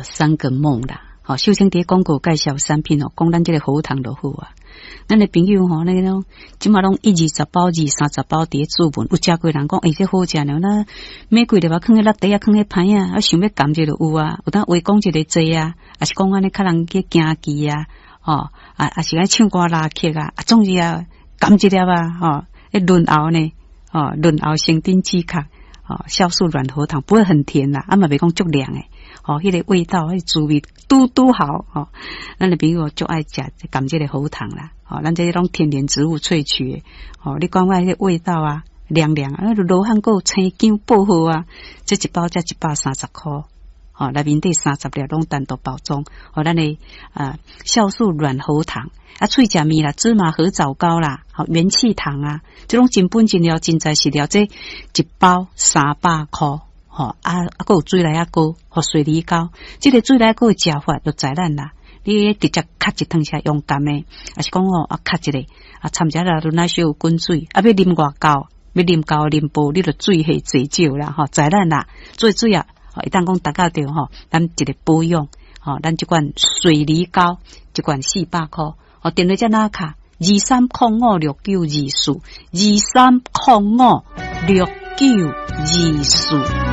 三個夢啦。吼，秀清佇廣告介紹產品哦，講咱這個喉糖就好啊。咱的朋友吼，那個攏這馬攏一二十包、二三十包佇咧注文，有誠濟人講，欸，這好食呢，那每幾日啊，囥佇落地啊，囥佇歹啊，啊想欲含一下有啊，有當話講一个濟啊，抑是講按呢較人去行棋啊，吼，啊啊是愛唱歌拉曲啊，啊總之啊，含一粒啊，吼，會潤喉呢，吼，潤喉生津止渴，吼，酵素軟喉糖不會很甜啦，啊嘛袂講足涼的，吼，彼個味道，彼個滋味拄拄好，吼，咱的朋友足愛食含這個喉糖啦，吼，咱這攏天然植物萃取的，吼，你感覺彼個味道啊，涼涼啊，羅漢果、青薑、薄荷啊，這一包才130箍，吼，內面底三十粒攏單獨包裝，吼，咱的啊酵素軟喉糖，啊，喙食麵啦，芝麻褐藻膏啦，吼，元氣糖啊，這攏真本真料，真材實料，這一包300箍，吼，啊啊，閣有水梨仔膏，予水梨膏，這個水梨膏的食法就知咱啦。你直接敲一湯匙用含的，抑是講吼啊敲一个，啊摻一下落奶小滾水，啊欲啉偌厚，欲啉厚啉薄，你就水下濟少啦，吼，知咱啦，做水啊，會當講達到著吼，咱一个保養，吼，咱這款水梨膏，這款400箍，吼，電話遮哪敲？23056924，23056924。